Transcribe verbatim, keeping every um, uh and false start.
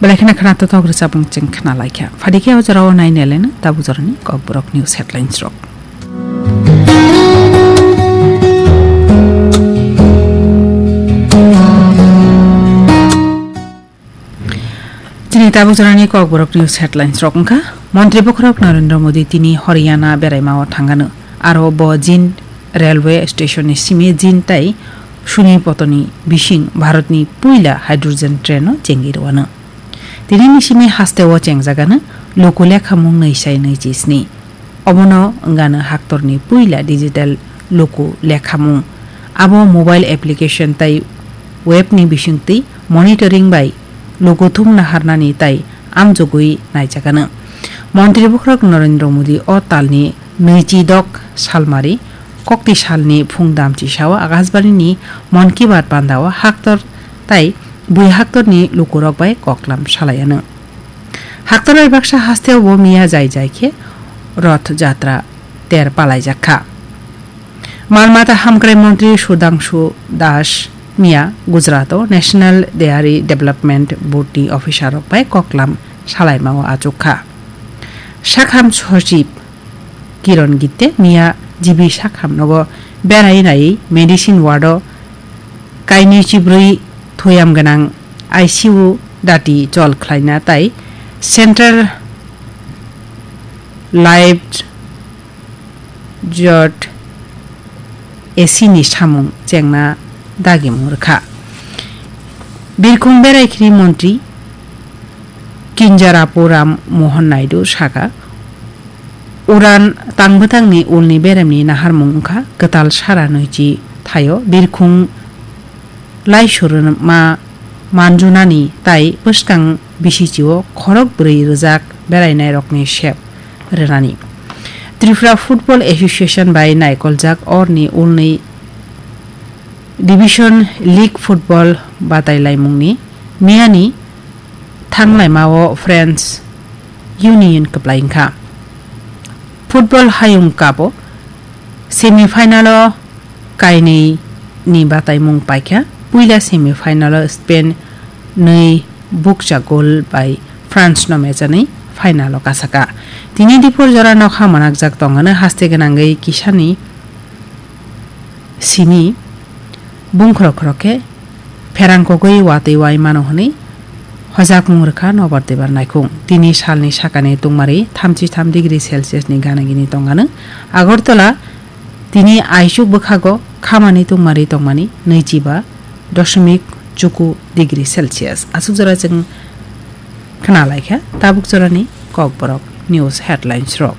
Belai kheno khna totok rwchapmung chwng khna laikha. Phadi khe o jorao nai neleno tabuk jorani Kokborok news headlines rok. Chini tabuk jorani Kokborok news headlines rok wngkha, Montri Bokhorok Narendra Modi tini Haryana beraimao thangano, aro bo Jind railway station ni simi Jind tai Sunipotoni bising Bharatni puila hydrogen train no chengwi rwano. Tini ni simi hasteo chengjagano luku lekhamung nwi sai nwi chi sni. Obono wngano haktorni puila digital luku lekhamung. Abo mobile application tai web ni bisingtwi monitoring bai luku thumna harnani tai amjogwi naijakano. Montri Bokhorok Narendra Modi o talni nwichi dok salmari kokti salni phung damchi sao Akashbani ni Mann Ki Baat bandao haktor tai bui haktorni lukurok bai koklam salaiano. Haktor bai baksa hasteo bo miya jai jai khe Roth Jatra ter palaijak kha. Mal mata hamkrai montri Sudhangshu Das miya Gujarat o National Dairy Development Board ni officer rok bai koklam salaimao achuk kha. Sakham Sochib Kiron Gitte miya G B Sakham nogo berai nai medicine ward o kainwi chibrwi thoyam gwnang I C U dati chol khlaina tai Central Life Jot A C ni samung chengna dagimung rwkha. Birkhung berai khiri montri Kinjarapu Ram Mohan Naidu saka, Uran tangbwtangni ulni beremni naharmung wngkha kwtal sara nwichi thaio birkhung laisurma manjunani tai bwskang bisichio khorok bwrwi rwjak berainairokni sep rwnani. Tripura Football Association bai naikoljak orni ulni Division League Football batailaimungni miyani thanglaimao French Union kwplai wngkha. Football Hayung Cup o semi final o kainwi ni bataimung paikha. Puila semi final o Spain nwi bukcha goal bai France no mechanwi final o kasaka. Tini diphur jora nokha manakjak tongano haste gwnangwi kisani simi bungkhorok khorok khe pherang kogwi watwi wai mano hwnwi hojakmung rwkha Nobar Debar naikhung. Tini salni sakani tungmari thamchi tham degree Celsius ni gana gini tongano. Agartala tini aichuk bwkhago khamani tungmari tongmani nwichiba doshmik chuku degree Celsius. Aswk jora chwng khna laikha tabuk jorani Kokborok news headlines rok.